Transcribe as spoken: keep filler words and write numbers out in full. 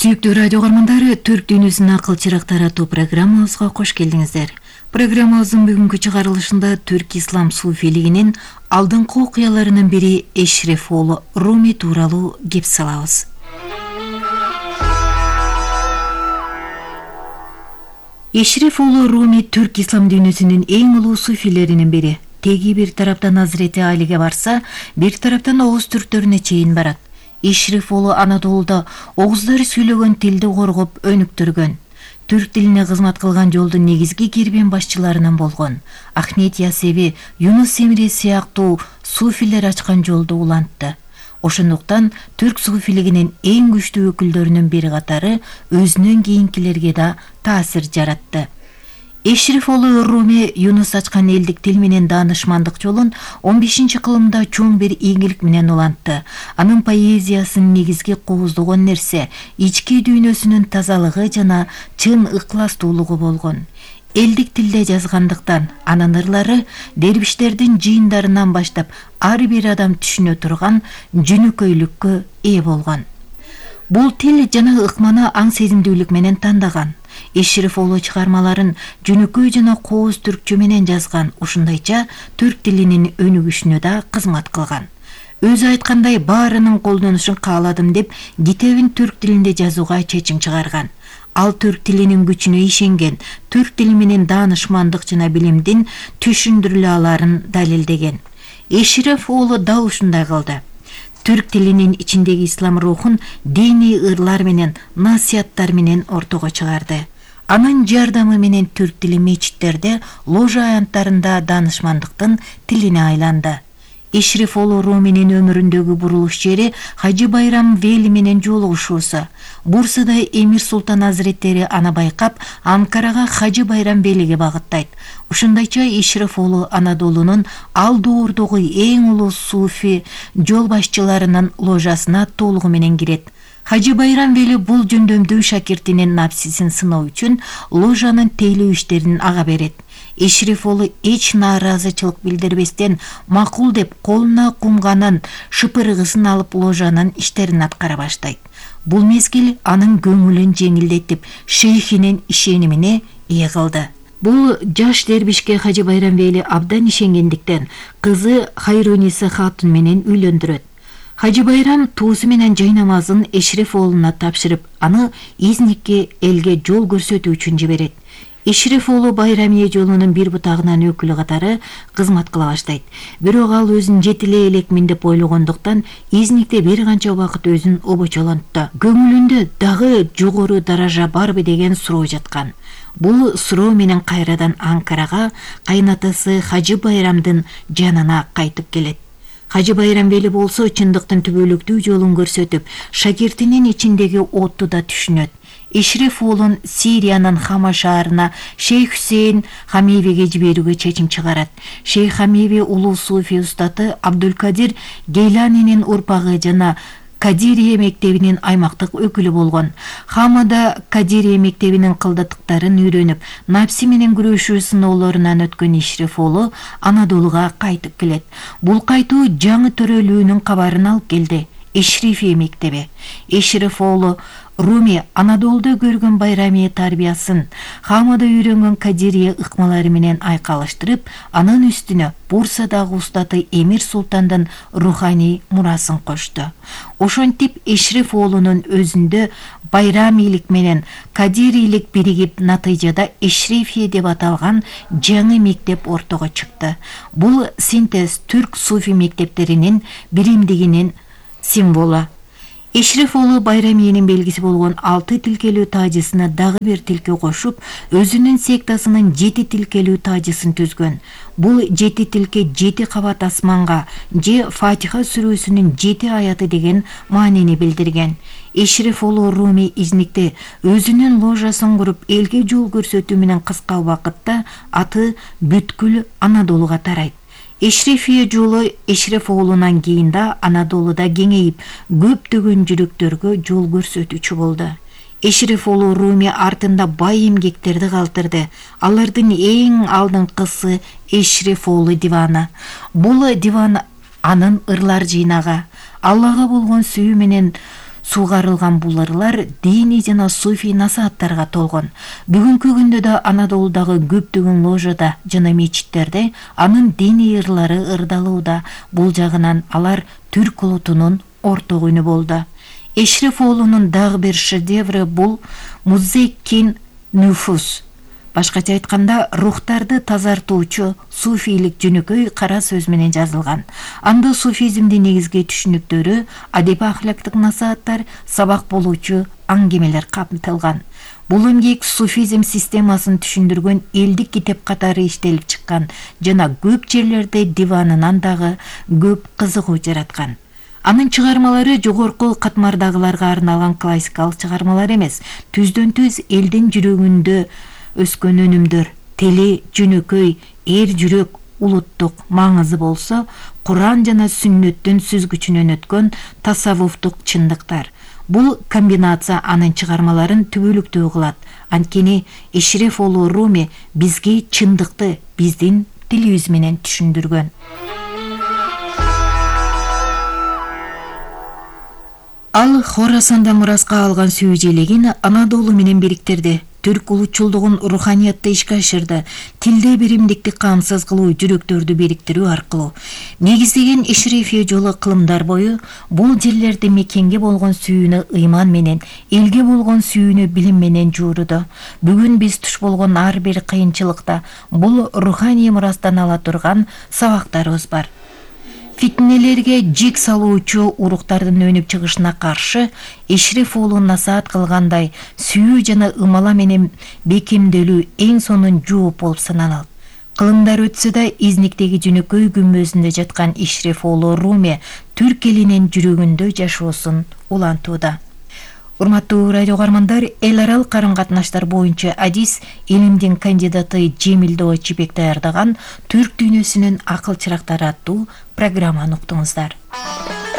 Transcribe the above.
Сүйүктүү радио көрмөндөрү, Түрк дүйнөсүнүн акыл чырактары атуу программабызга кош келдиңиздер. Программабыздын бүгүнкү чыгарылышында түрк ислам суфилигинин алдыңкы окуяларынын бири Эшреф уулу Руми тууралуу кеп салабыз. Эшреф уулу Руми түрк ислам дүйнөсүнүн эң улуу суфилеринин бири. Теги бир тараптан Азирети Алиге барса, бир тараптан Оғуз түрктөрүнө чейин барат. Эшреф уулу Анадолуда оғуздар сүйлөгөн тилди коргоп өнүктүргөн. Түрк тилине кызмат кылган жолдун негизги кербен башчыларынан болгон. Ахмет Ясеви, Юнус Эмре сыяктуу суфилер ачкан жолду улантты. Ошондуктан түрк суфилигинин эң күчтүү өкүлдөрүнүн бири катары өзүнөн кийинкилерге да таасир жаратты. Эшреф уулу Руми Юнус ачкан элдик тил менен даанышмандык жолун он бешинчи кылымда чоң бир ийгилик менен улантты. Анын поэзиясынын негизги кооздогон нерсе ички дүйнөсүнүн тазалыгы жана чын ыкластуулугу болгон. Элдик тилде жазгандыктан анын ырлары дербиштердин жыйындарынан баштап ар бир адам түшүнө турган жөнөкөйлүккө ээ болгон. Бул тил жана ыкманы аң сезимдүүлүк менен тандаган. Эшреф уулу чыгармаларын жөнөкөй жана кооз түркчө менен жазган, ушундайча түрк тилинин өнүгүшүнө да кызмат кылган. Өзү айткандай, баарынын колдонушун кааладым деп китебин түрк тилинде жазууга чечим чыгарган. Ал түрк тилинин күчүнө ишенген, түрк тили менен даанышмандык жана билимдин түшүндүрүлө аларын далилдеген. Эшреф уулу да ушундай кылды. Түрк тилинин ичиндеги ислам рухун диний ырлар менен, насыяттар менен ортого чыгарды. Анын жардамы менен түрк тили мечиттерде, ложа аянттарында даанышмандыктын тилине айланды. Эшреф уулу Руминин өмүрүндөгү бурулуш жери Хажы Байрам Вели менен жолугушуусу. Бурсада Эмир Султан Азиреттери аны байкап, Анкарага Хажы Байрам Велиге багыттайт. Ушундайча Эшреф уулу Анадолунун ал доордогу эң улуу суфи жол башчыларынын ложасына толугу менен кирет. Хажы Байрам Вели бул жөндөмдүү шакиртинин напсисин сыноо үчүн ложанын тейлөө иштерин ага берет. Эшреф уулу эч нааразычылык билдирбестен макул деп колуна кумганын шыпырыгысын алып ложанын иштерин аткара баштайт. Бул мезгил анын көңүлүн жеңилдетип, шейхинин ишенимине ээ кылды. Бул жаш дербишке Хажы Байрам Вели абдан ишенгендиктен кызы Хайруниса хатун менен үйлөндүрөт. Хажы Байрам туусу менен жай намазын Эшреф уулуна тапшырып, аны изникке элге жол көрсөтүү үчүн жиберет. Эшреф уулу Байрамия жолунун бир бутагынан өкүлү катары кызмат кыла баштайт. Бирок ал өзүн жетилей элекмин деп ойлогондуктан изникте бир канча убакыт өзүн обочолонтtu. Көңүлүндө дагы жогору даража барбы деген суроо жаткан. Бул суроо менен кайрадан Анкарага кайнатасы Хажы Байрамдын жанына кайтып келет. Хажы Байрам Вели болсо чындыктын түбөлүктүү жолун көрсөтүп, шакиртинин ичиндеги отту да түшүнөт. Эшреф уулун Сириянын Хама шаарына Шейх Хусейн Хамивиге жиберүүгө чечим чыгарат. Шейх Хамиви улуу суфи устаты Абдулкадир Гейланинин урпагы жана Кадирия мектебинин аймактык өкүлү болгон. Хамада Кадирия мектебинин кылдаттыктарын үйрөнүп, напси менен күрөшүү сыноолорунан өткөн Эшреф уулу Анадолуга кайтып келет. Бул кайтуу жаңы төрөлүүнүн кабарын алып келди. Эшрефия мектеби. Эшреф уулу Руми Анадолуда көргөн Байрамия тарбиясын, Хамада үйрөнгөн Кадирия ыкмалары менен айкалыштырып, анын үстүнө Бурсадагы устаты Эмир Султандын руханий мурасын кошту. Ошентип Эшреф уулунун өзүндө байрамийлик менен кадирийлик биригип, натыйжада Эшрефия деп аталган жаңы мектеп ортого чыкты. Бул синтез түрк суфи мектептеринин биримдигинин символу. Эшреф уулу Байрамиянын белгиси болгон алты тилкелүү тажысына дагы бир тилке кошуп, өзүнүн сектасынын жети тилкелүү тажысын түзгөн. Бул жети тилке жети кабат асманга же Фатиха сүрөсүнүн жети аяты деген маанини билдирген. Эшреф уулу Руми изникте өзүнүн ложасын куруп, элге жол көрсөтүү менен кыска убакытта аты бүткүл Анадолуга тарайт. Эшрефия жолу Эшреф уулунан кийин да Анадолуда кеңейип, көптөгөн жүрөктөргө жол көрсөтүүчү болду. Эшреф уулу Руми артында бай эмгектерди калтырды. Алардын эң алдыңкысы Эшреф уулу диваны. Бул диван анын ырлар жыйнагы. Аллага болгон сүйүү менен Сугарылган бул ырлар диний жана суфий насааттарга толгон. Бүгүнкү күндө да Анадолудагы көптөгөн ложада жана мечиттерде анын диний ырлары ырдалууда. Бул жагынан алар түрк улутунун орток үнү болду. Эшреф уулунун дагы бир шедеври бул Музеккин Нуфус. Башкача айтканда, рухтарды тазартуучу суфийлик жөнөкөй кара сөз менен жазылган. Анда суфизмдин негизги түшүнүктөрү, адеби ахлактык насааттар, сабак болуучу аңгемелер камтылган. Бул эмгек суфизм системасын түшүндүргөн элдик китеп катары иштелип чыккан жана көп жерлерде диванынан дагы көп кызыгуу жараткан. Анын чыгармалары жогорку катмардагыларга арналган классикалык чыгармалар эмес, түздөн-түз элдин жүрөгүндө өскөн өнүмдөр. Тили жөнөкөй, эр жүрөк, улуттук маңызы болсо, Куран жана сүннөттүн сүзгүчүнөн өткөн тасаввуфтук чындыктар. Бул комбинация анын чыгармаларын түбөлүктүү кылат. Анткени Эшреф уулу Руми бизге чындыкты биздин тилибиз менен түшүндүргөн. Ал Хорасанда мураска алган сүйүү желегин Анадолу менен бириктирди. Түрк улутчулдугун руханиятта ишке ашырды. Тилде биримдикти камсыз кылуу, жүрөктөрдү бириктирүү аркылуу негиздеген Эшрефия жолу кылымдар бою бул жерлерде мекенге болгон сүйүүнү ыйман менен, элге болгон сүйүүнү билим менен жууруду. Бүгүн биз туш болгон ар бир кыйынчылыкта бул руханий мурастан ала турган сабактарыбыз бар. Фитнелерге жик салуучу уруктардын өнүп чыгышына каршы Эшреф уулу насаат кылгандай сүйүү жана ымала менен бекемделүү эң сонун жооп болуп саналат. Кылымдар өтсө да Изниктеги жөнөкөй күмбөзүндө жаткан Эшреф уулу Руми түрк элинин жүрөгүндө жашоосун улантууда. Урматтуу радио угармандар, эл аралык карым-катнаштар боюнча адис илимдин кандидаты Жемил Доочибек даярдаган Түрк дүйнөсүнүн акыл чырактары аттуу программаны уктуңуздар.